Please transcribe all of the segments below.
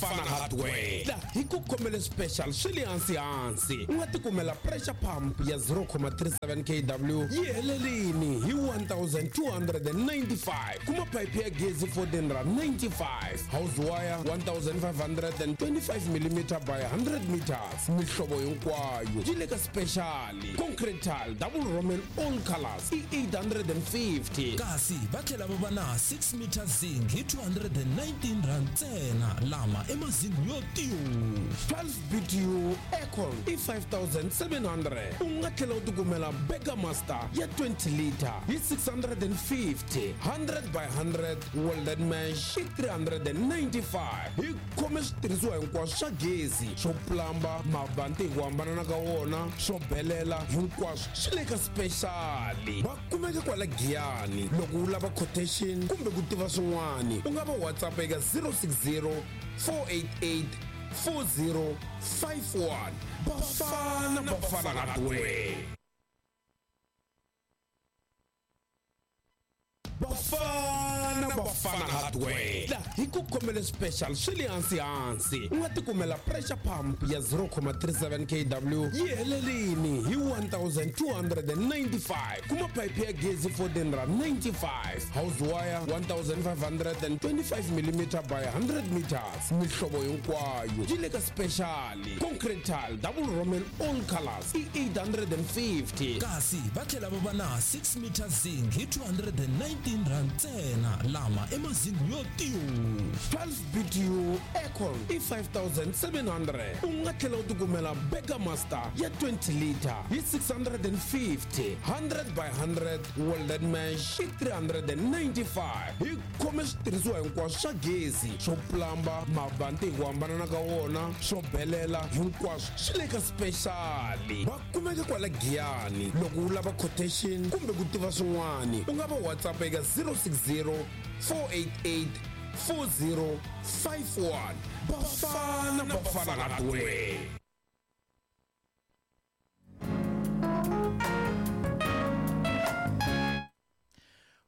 Bafana Hardware la hi ku khomele special swi le hansi hansi. U nga tikumela pressure pump ya 0,37 kW yi helelini hi 1295. Kuma phayiphi ya gezi 1495, house wire 1525 mm by 100 meters, mihlovo hinkwayo yi le ka special. Concrete tile double roman all colors i 850. Kasi va tlhela va va na 6 meter zinc hi 219 rand ntsena, lama i mazingi yo tiyo. 12 BTU aircon i 5700. U nga tlhela u tikumela Burger Master ya 20 liter hi 650, 100 by 100 welded mesh i 395. Hi khome switirhisiwa hinkwaswo swa gezi, swo plamba, mabanti hi ku hambanana ka wona, swo belela, hinkwaswo swi le ka special. Va kumeka kwala Giyani. Loko u lava quotation kumbe ku tiva swin'wana, u nga va WhatsApp eka 060 488 4051. Bafana Bafana Hardware. Bafana Bafana Hardware la hi ku khomele special swi le hansi hansi. U nga tikumela pressure pump ya 0,37 kW yi helelini hi 1295. Kuma phayiphi ya gezi 1495, house wire 1525 mm by 100 meters, mihlovo hinkwayo yi le ka special. Concrete tile double roman all colors i 850. Kasi va tlhela va va na 6 meter zinc hi 219 rand ntsena, lama i mazingi yo tiyo. 12 BTU aircon i 5700. U nga tlhela u tikumela Burger Master ya 20 liter hi 650, 100 by 100 welded mesh i 395. Hi khome switirhisiwa hinkwaswo swa gezi, swo plamba, mabanti hi ku hambanana ka wona, swo belela, hinkwaswo swi le ka special. Va kumeka kwala Giyani. Loko u lava quotation kumbe ku tiva swin'wana, u nga va WhatsApp eka 060 488 4051. Bafana Bafana Hardware.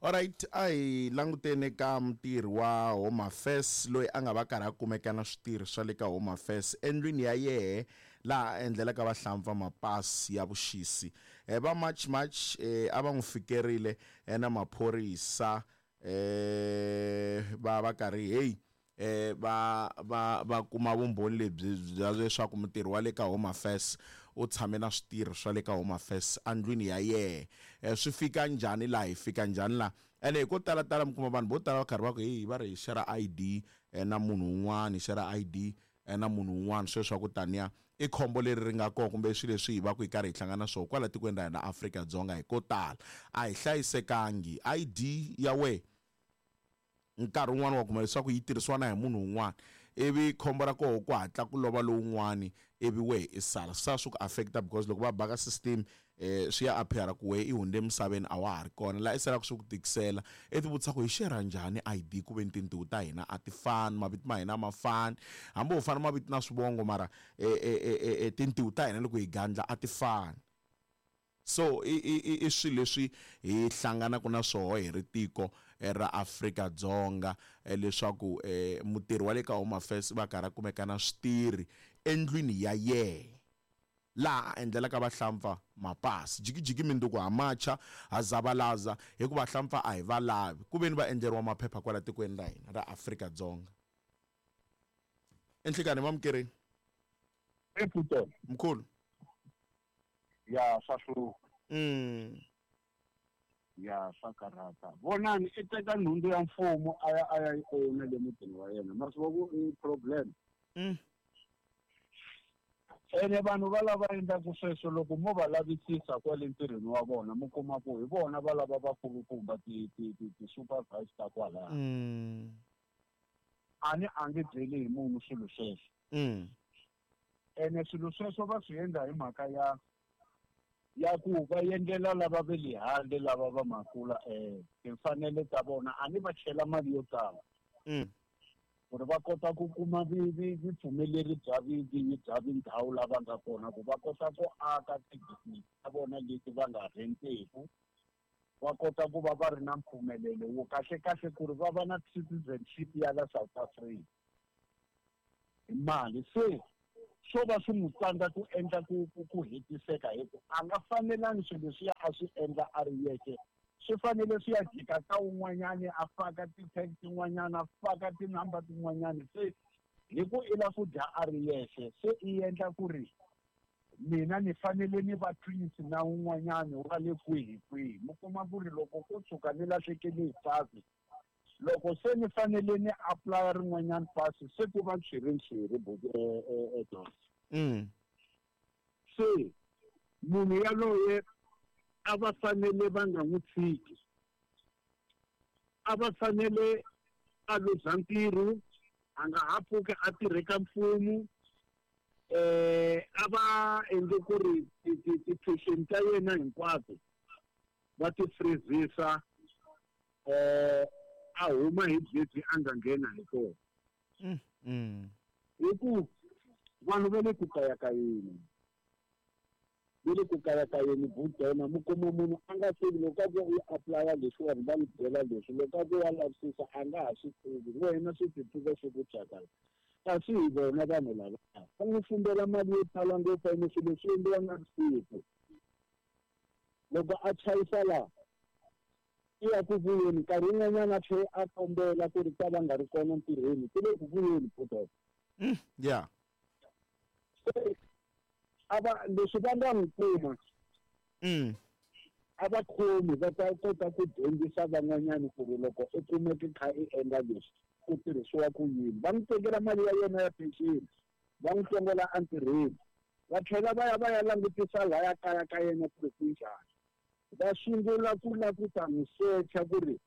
Alright, a hi languteni ka mutirhi wa Home Affairs loyi a nga va karhi a kumeka na switirhi swa le ka Home Affairs endlwini ya yehe laha a endlelaka vahlampfa mapasi ya vuxisi. Va March March a va n'wi fikerile na maphorisa va va karhi hey va va va kuma vumbhoni lebyi bya leswaku mutirhi wa le ka Home Affairs u tshame na switirhi swa le ka Home Affairs endlwini ya yehe. Swi fika njhani laha, hi fika njhani laha? Ene hi ko tala tala mi kuma vanhu vo tala va karhi va ku hey, va ri hi share ID na munhu un'wana, hi share ID na munhu un'wana, sweswo swa ku taniya i khombo leri ri nga kona kumbe swilo leswi hi va ku hi karhi hi hlangana na swona kwala tikweni ra hina Afrika-Dzonga. Hi ko tala a hi hlayisekangi. ID ya wena nkarhi wun'wani wa kuma leswaku yi tirhisiwa na hi munhu un'wana, ivi khombo ra koho ku hatla ku lova lowun'wani ivi wehe i sala, swi sala swi ku affect-a because loko va baka system swi ya appear ku wehe i hundze emisaveni a wa ha ri kona, laha i salaka swi ku tikisela. I ti vutisa ku hi share njhani I_D ku ve ni tintiho ta hina a ti fani, mavito ma hina a ma fani, hambi ho fana mavito na swivongo mara tintiho ta hina loko hi gandla a ti fani. So i i i i swilo leswi hi hlanganaka na swoho hi ri tiko ra Afrika-Dzonga leswaku mutirhi wa le ka Home Affairs va karhi a kumeka na switirhi endlwini ya yehe laha a endlelaka vahlampfa mapasi. Jikijiki minduku ha macha, ha zavalaza hikuva vahlampfa a hi va lavi ku veni va endleriwa maphepha kwala tikweni ra hina ra Afrika-Dzonga. Enhlikani mamukerini. Mkhulu. Ya swa hlupha. Ya swa karhata. Vonani i teka nhundzu ya mfumo a ya a ya yi owner le mutini wa yena. Ma swi vona ku i problem. Ene vanhu va lava endlaku sweswo loko mo va lavisisa kwale ntirhweni wa vona mi kuma ku hi vona va lava vakulukumba ti ti ti ti supervisor ta kwalaya. A ni a nge byeli hi munhu swilo sweswo. Ene swilo sweswo va swi endla hi mhaka ya ya ku va endlela lava ve le handle lava va makula timfanelo ta vona, a ni va chela mali yo tala. Ku ri va kota ku kuma vupfumeleri bya vinyi bya tindhawu lava nga kona ku va kota ku aka ti-business ta vona leti va nga renteku, va kota ku va va ri na mpfumelelo wo kahle kahle ku ri va va na citizenship ya la South Africa. Hi mali se swo va swi n'wi tsandza ku endla ku hetiseka hi ku a nga fanelangi swilo leswiya a swi endla a ri yexe, swi fanele swi ya jika ka wun'wanyani, a faka ti-tag tin'wanyana, a faka tinumber tin'wanyani. Se hi ku i la ku dya a ri yexe, se i endla ku ri mina ni fanele ni va twins na wun'wanyani wa le kwihi kwihi. Mi kuma ku ri loko ko tshuka ni lahlekele hi pasi, loko se ni fanele ni apply rin'wanyani pasi, se ku va ntshwirintswhiri Don. Se munhu yaloye a va fanele va nga n'wi tshiki, a va fanele a luza ntirho, a nga ha pfuki a tirhe ka mfumo. A va endle ku ri ti-pension ta yena hinkwato va ti freezisa, a huma hi gezi a nga nghena hi kona. Hi ku vanhu va le ku kayakayeni, va le ku kayakayeni Budona. Mi kuma munhu a nga tivi loko a ku u apply-a leswiwani, va n'wi byela leswi, loko a ku wa lavisisa a nga ha swi tivi, wena swi ti tiva swi ku thyakala. Kasi hi vona vanhu lava va n'wi fumbela mali yo tala ngopfu, ene swilo swi endliwa na vusiku. Loko a chayisa laha i ya ku vuyeni, nkarhi wun'wanyana a tlhela a kombela ku ri ta va nga ri kona ntirhweni, ku le ku vuyeni Budona. Se a va leswi va nga n'wi kuma, a va khomi, va ta kota ku dyondzisa van'wanyani ku ri loko u kumeke kha i endla leswi ku tirhisiwa ku yini. Va n'wi tekela mali ya yena ya pension, va n'wi tongola entirhweni, va tlhela va ya va ya langutisa laya kaya ka yena ku ri ku njhani. Va sungula ku lava ku ta n'wi secha ku ri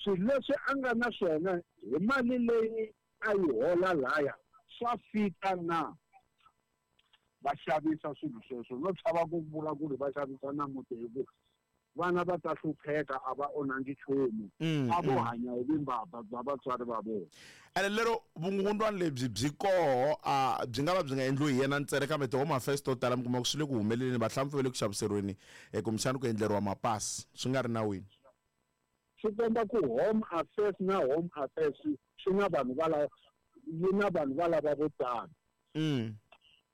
swilo leswi a nga na swona hi mali leyi a yi hola laya swa fika na. Va xavisa swilo sweswo, no chava ku vula ku ri va xavisa na muti, hi ku vana va ta hlupheka, a va onhangi nchumu, a vo hanya hi vumbabva bya vatswari va vona. Ene lero vukungundwani lebyi byi koho, a byi nga va byi nga endliwi hi yena ntsena, kambe ti-home affairs to tala mi kuma ku swi le ku humeleleni, vahlampfa va le ku xaviseriweni, kumbexana ku endleriwa mapasi swi nga ri nawini. Swi komba ku home affairs na home affairs swi na vanhu va lava, yi na vanhu va lava vo tala.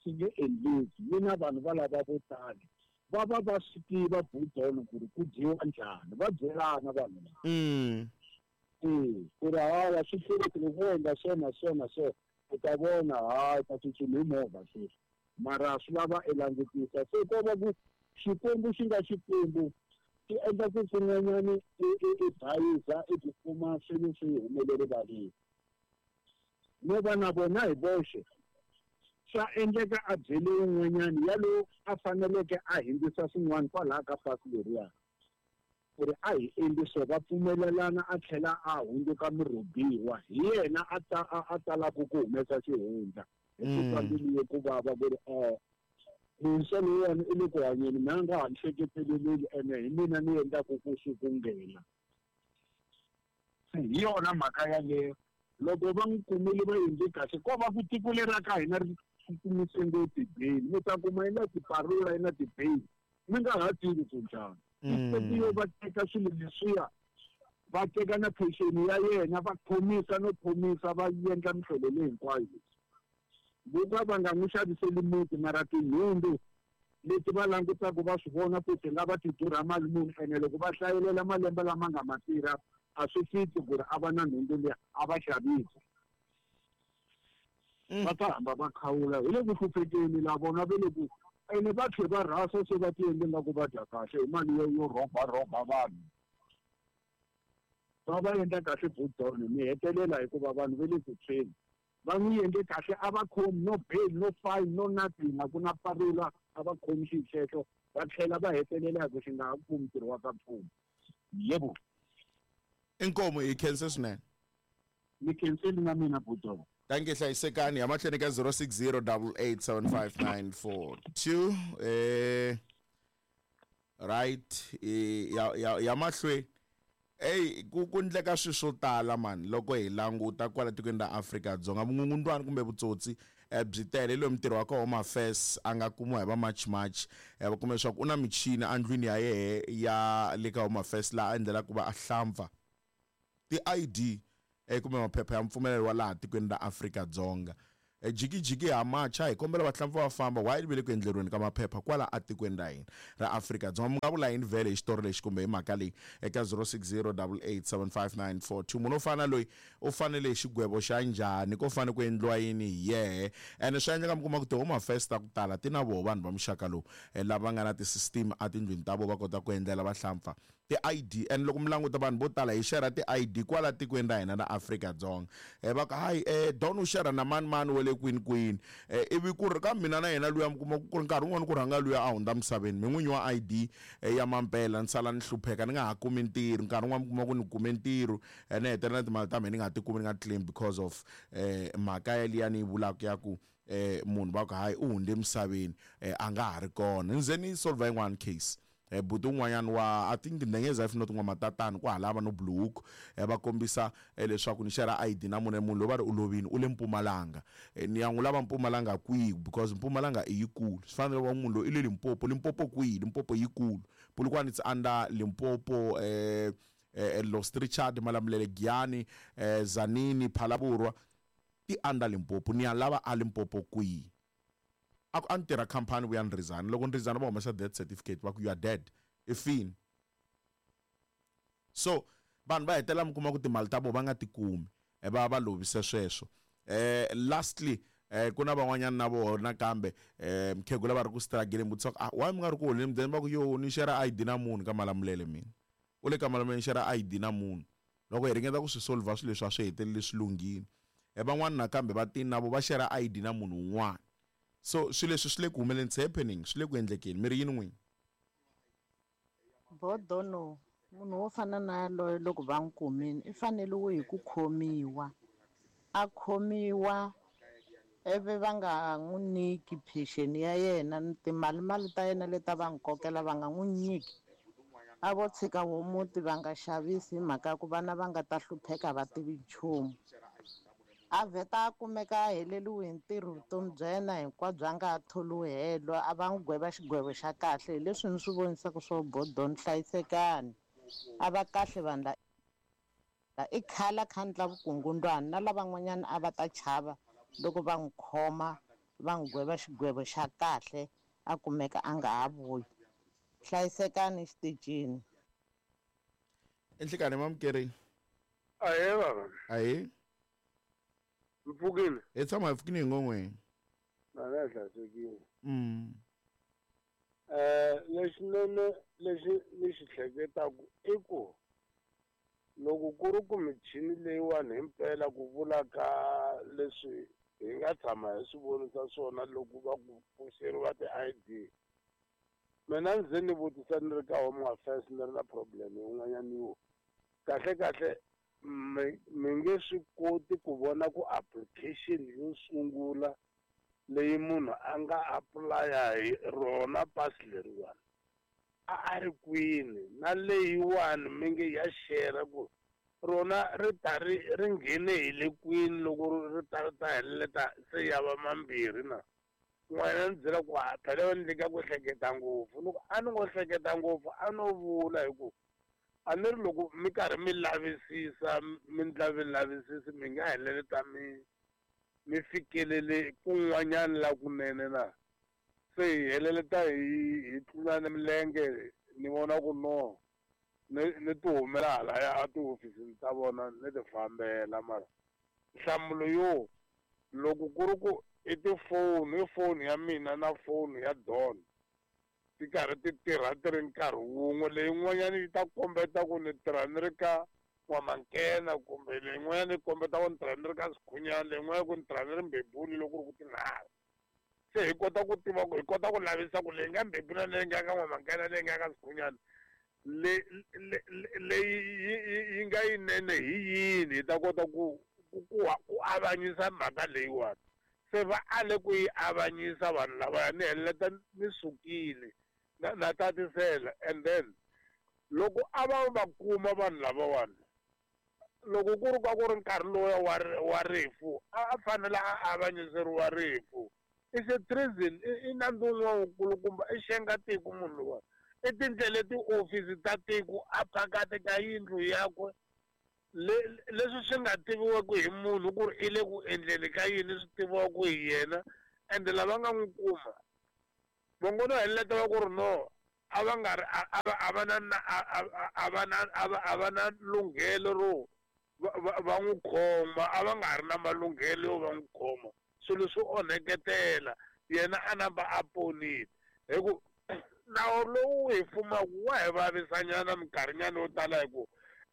Swi nge endleki, yi na vanhu va lava vo tala. Va va va swi tiva Budona ku ri ku dyiwa njhani, va byelana vanhu lava. Ku ri hawa swi hlwela loko wo endla so na so na so, u ta vona ha u ta tsutsuma hi movha sweswi. Mara swi lava i langutisa. Se ko va ku Xikwembu xi nga Xikwembu xi endla ku kun'wanyani i bayiza, i tikuma swilo swi humele rivaleni. No va na vona hi voxe swa endleka a byele wun'wanyani yalowo a faneleke a hindzisa swin'wana kwalaha ka pasi leriya, ku ri a hi endli so, va pfumelelana, a tlhela a hundzuka murhubiwa, hi yena a ta a talaka ku humesa xihundla. Hi ku twa mbilu yo ku vava ku ri muntshwa lowuwani i le ku hanyeni, mina a nga ha ni hleketeleleli, ene hi mina ni endlaku ku swi ku nghena. Se hi yona mhaka yaleyo, loko va n'wi kumile va endle kahle. Ko va ku tiko leri ra ka hina ri tsutsumisa ngopfu ti-bail, mi ta kuma yi na tiparula, yi na ti-bail, mi nga ha tivi ku njhani. Instead yo va teka swilo leswiya, va teka na pension ya yena, va khomisa no khomisa, va endla mihlolo leyi hinkwayo leyi. Vo ka va nga n'wi xaviseli muti, mara tinhundzu leti va langutaka va swi vona ku ti nga va ti durha mali muni, ene loko va hlayelela malembe lama nga ma tirha a swi fiki ku ri a va na nhundzu liya, a va xavisi. Va ta hamba va khawula, hi le ku hluphekeni la vona va le ku, ene va tlhe va rhasa se va ti endle nga ku va dya kahle hi mali yo rhoba rhoba vanhu. Va va endla kahle Budona, mi hetelela hikuva vanhu va le ku tshweni. Va n'wi endle kahle, a va khomi no bail, no fine, no nothing, a ku na parula, a va khomi xilo xexo, va tlhela va hetelela hi ku xi nga ha kumi ntirho wa ka mfumo. Yebo. Inkomu, hi khense swinene. Ni khenseli na mina Budona. Thank you, hlayisekani. Ya mahlweni ka zero six zero double eight seven five nine four two. Right, ya, ya, ya mahlweni. Ey, ku ndleka swilo swo tala man loko hi languta kwala tikweni ra Afrika-Dzonga, vukungundwani kumbe vutsotsi byi tele. Hi loyi mutirhi wa ka Home Affairs a nga kumiwa hi va March March, va kume leswaku u na michini endlwini ya yehe ya le ka Home Affairs laha a endlelaka ku va a hlampfa ti-I D kumbe maphepha ya mpfumelelo wa laha tikweni ra Afrika-Dzonga. Jikijiki ha macha hi kombela vahlampfa va famba why ve le ku endleriweni ka maphepha kwala atikweni ra hina ra Afrika-Dzonga. Mi nga vula yini vhele hi xitori lexi kumbe hi mhaka leyi eka 0608875942? Munhu wo fana loyi u fanele hi xigwevo xa njhani? Ko fanele ku endliwa yini hi yehe? Ene swa endleka mi kuma ku ti-home affairs ta ku tala ti na voho vanhu va muxaka lowu, lava nga na ti-system etindlwini ta vona, va kota ku endlela vahlampfa ti-ID. And loko mi languta vanhu vo tala hi share ti-ID kwala tikweni ra hina ra Afrika-Dzonga, va ku hayi, Don u share na mani mani wa le kwini kwini, ivi ku ri ka mina na yena luya, mi kuma ku ri nkarhi wun'wani ku rhanga luya a hundza misaveni, mi n'winyi wa ID ya mampela, ni sala ni hlupheka, ni nga ha kumi ntirho. Nkarhi wun'wani mi kuma ku ni kume ntirho, ni hetelela timali ta mina ni nga ti kumi, ni nga claim because of mhaka ya liya ni yi vulaka ya ku munhu va ku hayi u hundze misaveni, a nga ha ri kona. Ni ze ni solve yin'wana case, buti un'wanyana wa, I think Ndengeza if not N'wamatatani, ku halava no Blue Hook, va kombisa leswaku ni share ID na munhu, munhu loyi va ri u lovini, u le Mpumalanga. Ni ya n'wi lava Mpumalanga kwihi? Because Mpumalanga i yikulu, swi fanele va munhu loyi i le Limpopo. Limpopo kwihi? Limpopo yikulu. Polokwane it's under Limpopo, Lost Richard, Malamulele, Giyani, Zanini, Phalaborwa ti under Limpopo. Ni ya lava a Limpopo kwihi? A ku a ni tirha khampani vuya ni resign. Loko ni resign va humesa death certificate, va ku you are dead, i fini. So vanhu va hetelela mi kuma ku timali ta vona va nga ti kumi, va va lovise sweswo. Lastly, ku na van'wanyana na vona nakambe, mukhegula va ri ku struggle, vutisa ku ah, why mi nga ri ku holeni mudende? Va ku yo ni share ID na munhu ka Malamulele, mina u le ka Malamulele, ni share ID na munhu. Loko hi ringeta ku swi solve swilo leswi a swi heteleli swi lunghile. Van'wana nakambe va tini na vo va share ID na munhu un'wana. So swilo leswi swi le ku humeleni, it's happening, swi le ku endlekeni. Mi ri yini n'wini? Bodono, munhu wo fana na yaloye loko va n'wi kumile i fanele hi ku khomiwa, a khomiwa ivi va nga n'wi nyiki pension ya yena ni timali mali ta yena leti a va n'wi kokela, va nga n'wi nyiki. A vo tshika wo muti, va nga xavisi, hi mhaka ya ku vana va nga ta hlupheka, va tivi nchumu. A vheta a kumeka a heleriwe hi ntirho vutomi bya yena hinkwabyo, a nga ha tholiwi helo. A va n'wi gweva xigwevo xa kahle. Hi leswi ni swi vonisaka swo Bodon, hlayisekani, a va kahle vanhu la i khale a kha ndla vukungundwani, na lavan'wanyana a va ta chava loko va n'wi khoma, va n'wi gweva xigwevo xa kahle, a kumeka a nga ha vuyi. Hlayisekani xitichini. Enhlekani mamukeri. Ahee baba. Ahee. Mpfukile. Hi tshama hi pfukile hi ngon'weni. Na na hlayisekile. Lexinene lexi ni xi hleketaku i ku loko ku ri ku michini leyiwani himpela ku vula ka leswi hi nga tshama hi swi vonisa swona loko va ku pfuxeriwa ti-ID, mina ndzi ni vutisa ni ri ka Home Affairs, ni ri na problem yin'wanyana yo kahle kahle mi nge swi koti ku vona ku application yo sungula leyi munhu a nga apply-a hi rona pasi leriwani a ri kwini, na leyiwani mi nge ya share ku rona ri ta ri ri nghene hi le kwini loko ri ta ri ta heleleta se ya va mambirhi na n'wana. Ni byela ku ha phela va ni ka ku hleketa ngopfu, ni ku a ni ngo hleketa ngopfu, a no vula hi ku a ni ri loko mi karhi mi lavisisa, mi ndla vilavisisi, mi nga heleleta mi fikelele kun'wanyana la kunene na se hi heleleta hi tlulana milenge. Ni vona ku no ni ti humela halaya a tihofisini ta vona, ni ti fambela. Mara nhlamulo yo loko ku ri ku i tifoni, i foni ya mina na foni ya Don ti karhi ti tirha ti ri nkarhi wun'we, leyin'wanyana yi ta kombeta ku ni tirha ni ri ka N'wamankena, kumbe leyin'wanyana yi kombeta ku ni tirha ni ri ka Sikhunyana, leyin'wanyana ku ni tirha ni ri Mbebuli, loko ku ri ku tinharhu se hi kota ku tiva ku hi kota ku lavisa ku leyi nga Mbebula, leyi nga ka N'wamankena, leyi nga ka Sikhunyana, le leyi yi nga yinene hi yini, hi ta kota ku avanyisa mhaka leyiwani. Se va ale ku yi avanyisa vanhu lavaya, ni heleleta ni sukile na tatisela. And then loko a va va kuma vanhu lavawani, loko ku ri ka ku ri nkarhi lowuya wa rifu, a fanele a avanyiseriwa rifu. It's a treason, i nandzu wun'wana wukulukumba, i xenga tiko munhu luwa, i tindlela tihofisi ta tiko a phakati ka yindlu yakwe. Leswi swi nga tiviweki hi munhu ku ri i le ku endleni ka yini swi tiviwaka hi yena, ende lava nga n'wi kuma va ngo no heleketa va ku ri no a va nga ri a va na a va na a va na lunghelo ro va n'wi khoma, a va nga ri na malunghelo yo va n'wi khoma. Swilo swi onheketela yena a namba a ponile, hi ku nawu lowu hi fumaka wa hi vavisanyana minkarhinyana yo tala, hi ku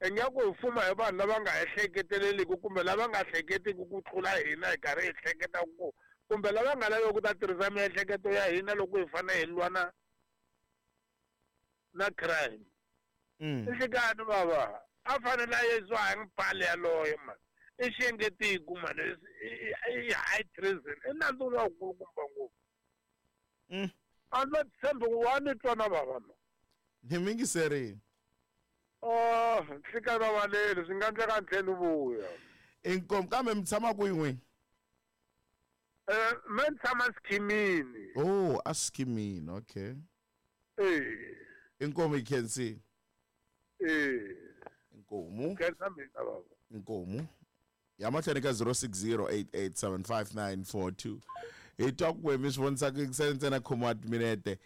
ingaku hi fuma hi vanhu lava nga ehleketeleliki kumbe lava nga hleketiki ku tlula hina hi karhi hi hleketa ku, kumbe lava nga laveki ku ta tirhisa miehleketo ya hina loko hi fanele hi lwa na crime. Nhlikani bava a fanele a yisiwa hi mpale yaloye mani, i xiyengetiku mani, i high treason, i nandzu lowukulukumba ngopfu. A ni tshembi ku wa ni twa na bava no. Ni mingiserini. Oh, nhlikani bava leli swi nga endleka ni tlhela ni vuya. Inkomu, kambe mi tshama kwihi n'wini? Me ni tshama Skimini. Oh, a Skimini, okay. Inkomu yi khensile. Inkomu. Khensa mina baba. Inkomu. Ya mahlweni ka 0608875942. Hi twa ku mi swi vonisa ku yingisela ntsena khomiwa timinete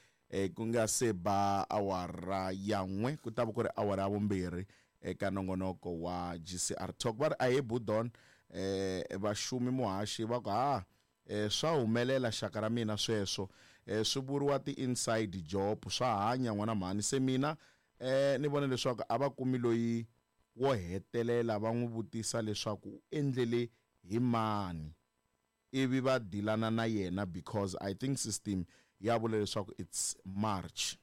ku nga se ba awara ya 1, ku ta va ku ri awara ya 2 eka nongonoko wa GCR Talk. Va ri a hi Budon, vaxumi muhaxi va ku ha swa humelela xaka ra mina sweswo, swi vuriwa ti-inside job, swa hanya n'wana mhani. Se mina ni vona leswaku a va kumi loyi wo hetelela va n'wi vutisa leswaku u endlele hi mani, ivi va dilana na yena, because I think system ya vula leswaku it's March.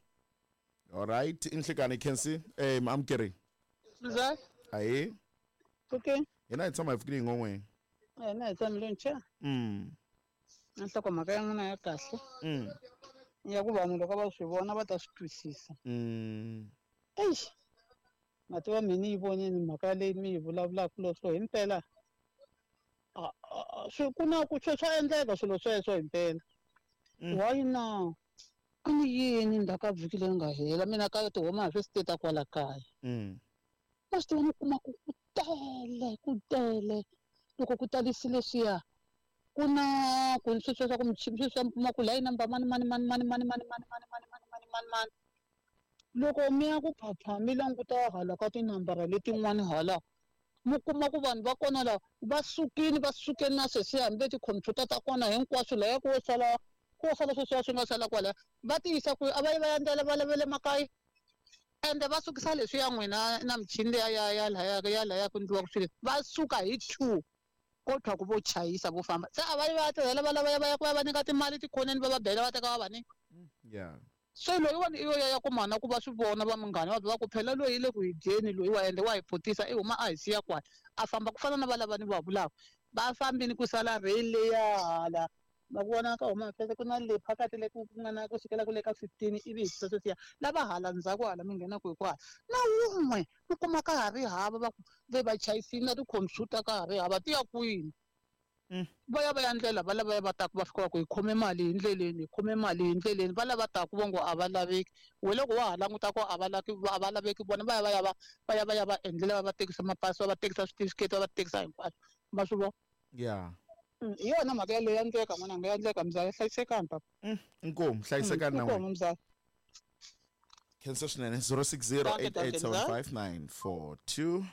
All right, inhlikani Kensi, amukeri. Mzali. Ayi. Okay. Hina hi tshama hi fikile hi ngon'weni. Hina hi tshamile ncha. Nhlokomhaka ya n'wina ya kahle. Ya ku vanhu loko va swi vona va ta swi twisisa. Eish. Na tiva mina yi vonile mhaka leyi mi yi vulavulaka leswo himpela. Swi ku na ku swa endleka swilo sweswo himpela. Why na? A ni yini ndzhaku ka vhiki leri nga hela mina ka tihoma hi swi state kwala kaya. Ma swi tiva ni kuma ku ku tele loko ku talisile swiya ku na ku sweswo swa ku michini sweswi swa kuma ku line number mani mani mani mani mani mani mani mani mani mani mani mani mani. Loko mi ya ku phapha mi languta hala ka tinambara letin'wani hala, mi kuma ku vanhu va kona la va sukile va suke na sweswiya hambi tikhompyuta ta kona hinkwaswo laya ku sala ku sala sweswiya swi nga sala kwalaya va tiyisa ku a va yi va ya ndlela va lavele makaya, ende va sukisa leswiya n'wina na michini liya ya ya laya ya laya ku endliwaka swilo va suka hi 2 kodwa ku vo chayisa vo famba se a va yi va ya tirhela va lava va ya ku va va nyika timali tikhoneni va va bela va teka va va nyika. So loyiwani i yo ya ku mana ku va swi vona va munghana va ku phela loyi i le ku hi dyeni loyi wa ende wa hi phutisa i huma a hi siya kwala a famba ku fana na valava ni va vulaka va fambini ku sala rail leya hala ma ku vona ka huma fese ku na le phakathi le ku nga na ku sukela ku le ka 15 ivi hi sweswiya lava hala ndzhaku hala mi nghena ku hi kwala na wun'we u kuma ka ha ri hava va ku ve va chayisile na tikhompyuta ka ha ri hava ti ya kwini. Va ya va ya ndlela va lava va taku va fika va ku hi khome mali hi ndleleni hi khome mali hi ndleleni va lava taku vo ngo a va laveki we loko wa ha languta ku a va laki a va laveki vona va ya va ya va va ya va ya va endlela va va tekisa mapasi va va tekisa switifiketi va va tekisa hinkwaswo ma swi vona. Hi yona mhaka yaleyo ya ndleka n'wananga ya ndleka mzala hlayisekani papa. Inkomu hlayisekani na Inkomu mzala. Khensa swinene 0608875942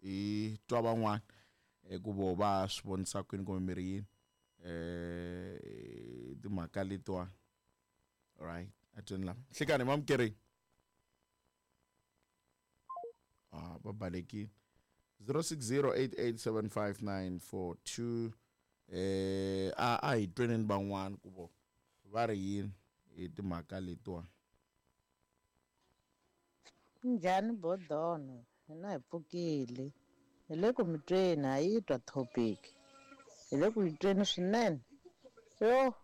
hi twa van'wana ku vo va swi vonisa kwini kumbe miri yini timhaka letiwa. Right, a tweni lama nhlikani mamukeri va balekile 0608875942 a hi tweneni van'wana ku vo va ri yini hi timhaka letiwa. Njhani Bodono, hina hi pfukile hi le ku mi tweni ha yi twa topic hi le ku yi tweni swinene. Yo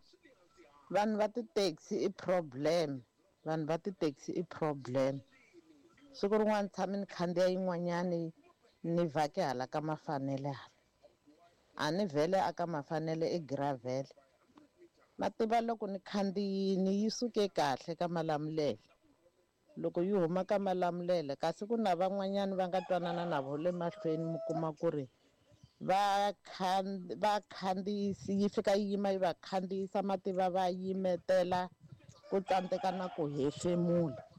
vanhu va ti-taxi i problem, vanhu va ti-taxi i problem. Siku rin'wana tshame ni khandziya yin'wanyani ni vhake hala ka Mafanele hala, a ni vhele a ka Mafanele i gravel ma tiva loko ni khandziyini yi suke kahle ka Malamulele. Loko yi huma ka Malamulele kasi ku na van'wanyana va nga twanana na vo le mahlweni mi kuma ku ri va va khandziyisi yi fika yi yima yi va khandziyisa mativa va yimetela ku tsandzeka na ku hefemula.